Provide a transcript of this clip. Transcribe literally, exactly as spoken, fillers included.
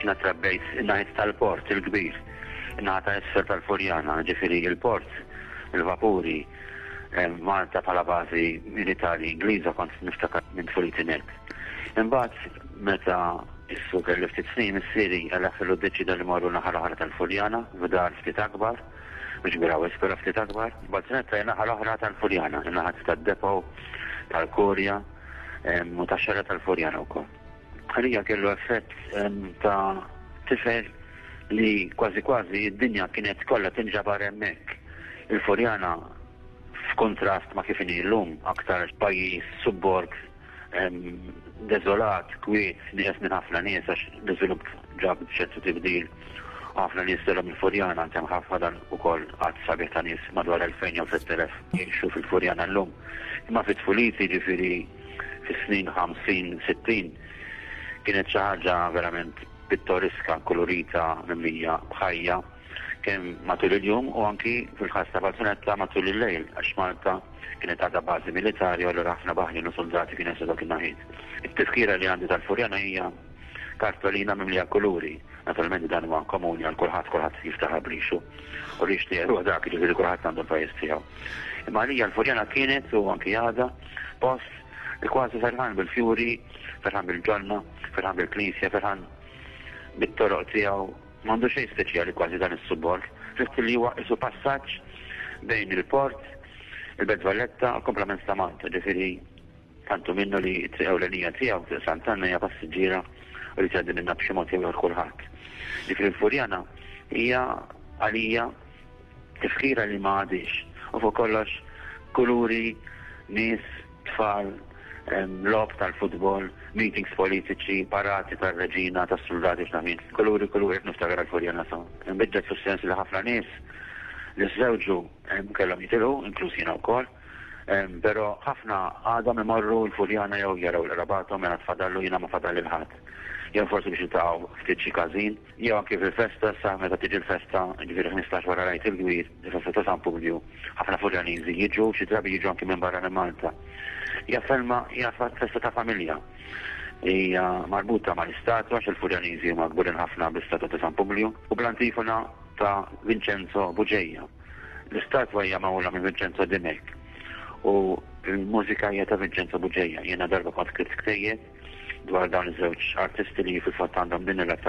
Jiena trabbejt in-naħa tal-port il-kbir, in-naħa ta' isfel tal-Furjana, ġifieri il-port, il-vapuri, Malta bħala bażi militari Ingliża kont niftakar minn tfuliti net. Imbagħad meta issu kelli ftit snin, missieri għal deċida li morru naħa l-oħra tal-Furjana, f'dar ftit akbar, mhux kbira wisq, però ftit akbar. Balzunetta hija naħa l-oħra tal-Furjana, in-naħa tad-depot, tal-Kurja u tax-xara tal-Furjana wkoll. Għalija kellu effett ta' tifel li kważi kważi id-dinja kienet kollha tinġabar hemmhekk. Il-Furjana, f'kontrast ma' kif inhi llum, aktar pajjiż subborg, deżolat, kwiet, nieqes minn ħafna nies għax l-iżvilupp ġab ċertu tibdil. Ħafna nies telgħu mill-Furjana, hemm ħafna dan ukoll għadd sabiħ ta' nies, madwar elfejn jew tlett elef jgħixu fil-Furjana llum. Imma fit-tfuliti, ġifieri fis-snin ħamsin, sittin, kienet xi ħaġa verament pittoriska, kolorita, mimlija b'ħajja, kemm matul il-jum u anki fil-ħas ta' Balzunetta matul il-lejl, għax Malta kienet għadha bażi militari u allura ħafna baħrin u soldati kien jessu dak in-naħiet. It-tifkira li għandi tal-Furjana hija kartolina mimlija kuluri. Naturalment dan huwa komuni għal kulħadd, kulħadd jiftaħar b'rixu. U rix tiegħu dak, jiġifieri kulħadd għandu l-pajjiż tiegħu. Imma għalija l-Furjana kienet u anki għadha post li kważi ferħan bil-fjuri, ferħan bil-ġonna, ferħan bil-knisja, ferħan bit-toroq tiegħu. M'għandu xejn speċjali kważi dan is-subborg. Ġust li huwa isu passaġġ bejn il-port, il-Belt Valletta u komplement ta' Malta, ġifieri tantu minnu li t-triq ewlenija tiegħu, Triq Sant'Anna, hija passiġġiera u li tgħaddi minnha b'xi mod jew kulħadd. Ġifieri l-Furjana hija għalija tifkira li ma għadix. U fuq kollox kuluri, nies, tfal, logħob tal-futbol, meetings politiċi, parati tal-reġina, tas-soldati x'naf. Kuluri, kuluri, niftakar għal-Furjana sa. Nbidlet fis-sens li ħafna nies li żewġu kellhom jitilqu, inkluż jiena wkoll. Però ħafna għadhom imorru l-Furjana jew jaraw l-qrabathom mela tfadallu, jiena ma fadal il-ħadd. Jew forsi biex jiltaqgħu ftit xi każin, jew anke fil-festa, sa meta tiġi l-festa, ġifieri ħmistax wara l-Għid il-Kbir, il-festa ta' San Publiju, ħafna Furjaniżi jiġu, xi drabi jiġu anke minn barra minn Malta. Hija ferma, hija festa ta' familja. Hija marbuta mal-istatwa għax il-Furjaniżi huma kburin ħafna bl-istatwa ta' San Publiju u bl-antifona ta' Vincenzo Bugeja. L-istatwa hija magħmula minn Vincenzo Dimech u l-mużika hija ta' Vincenzo Bugeja. Jiena darba kont skritt ktejjeb dwar dawn iż-żewġ artisti li fil-fatt għandhom din ir-rabta.